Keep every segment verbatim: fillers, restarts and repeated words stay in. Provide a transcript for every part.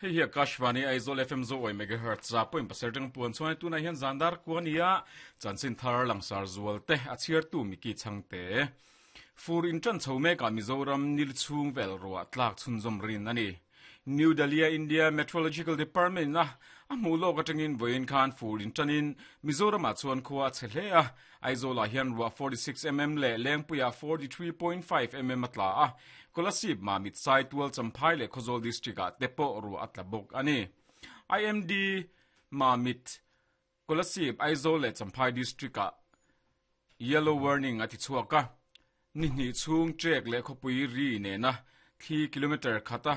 Hei hi Akashvani Aizawl F M zo oi megahertz za point pasarih tang puan chuan tunah hian zandar kuania chanchin thar langsar zual te a chhiar tu miki changte fur in tran chho meka Mizoram nil chung vel ruwa tlak chhunzawm rin ani. New Delhi India Meteorological Department na a hmu lawk atangin vawiin khan fur in tanin Mizoram ah chuan khua a che hle a. Aizawl ah hian ruah forty-six millimeter leh Lengpuiah forty-three point five millimeter a tla a. Kolasib Mamit Sai Tual Champhai leh Khawzawl district ah te pawh ruah a tla bawk ani. I M D Mamit Kolasib Aizawl leh Champhai district ah yellow warning a ti chhuak a. Ni hnih chhung trek leh khawpui ri nena three kilometer khata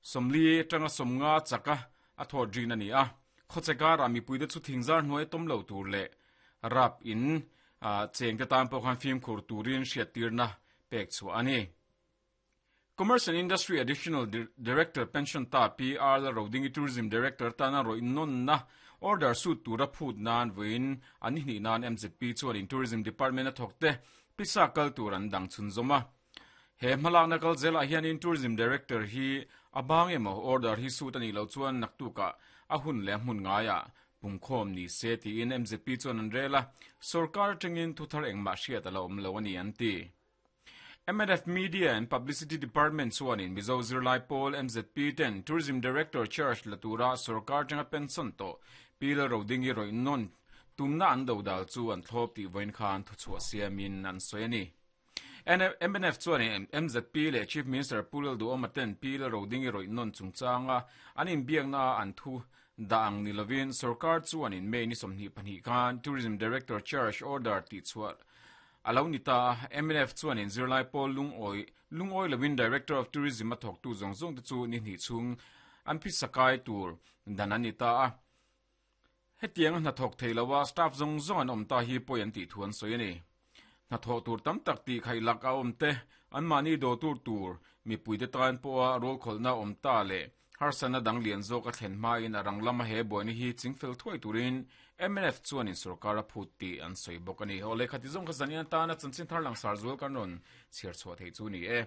somli tanga somnga chaka a thaw rin ani a. Khawchekar ah mipui te chu thingzar hnuai tawm lo tur leh rap in cheng te tan pawh khan fimkhur turin hriat tirna pek chu ani. Commerce and Industry Additional Director Pension ta P R Rodingi Tourism Director tana roi non na order suit tura phut nan voin ani hni nan M Z P chuan in Tourism Department a thawk te pisa kal tur an dang chhun zawma. He hmalak na kal zela hian in Tourism Director hi abang emaw order hi suit ani lo chuan naktuka a hun le hmun ngaia pungkhawm ni se ti in M Z P chuan an rela sarkar tangin thuthar engmah hriat ala awm lo ani an ti. M N F Media and Publicity Department chuan in Mizo Zirlai Pawl M Z P ten Tourism Director Charge Latura sarkar tanga pension to Pil Rodingi roi non tumna an do dal chu an thlop ti voin khan thu chhuah siamin an sawi ani. M N F chuan in M Z P leh Chief Minister Pulal Duhoma ten Pil Rodingi roi non chungchanga an inbiakna an thu dang nilovin sarkar chuan in May ni sawmhnih pahnih khan Tourism Director Charge Order ti chhuah alo ni ta. M N F chuan in Zirlai Pawl lungoi lungoi lovin Director of Tourism a thawk tu zawng zawng te chu ni hnih chhung an phi sakai tur dan ani ta a. Hetiang hna thawk thei lowa staff zawng zawng an awm ta hi pawi an tih thu an sawi ani. Hna thawk tur tam tak ti khai lak a awm te an mahni do tur tur mipui te tan pawha rawl khawlhna awm ta leh harsana dang lian zawk a thlen hmain a rang lama he buaina hi chingfel thuai turin M N F chuan in sarkar a phut tih an sawi bawk ani. Aw le khati zawng kha zanian tana chanchin thar langsar zual kan rawn chhiar chhuah thei chu ni e.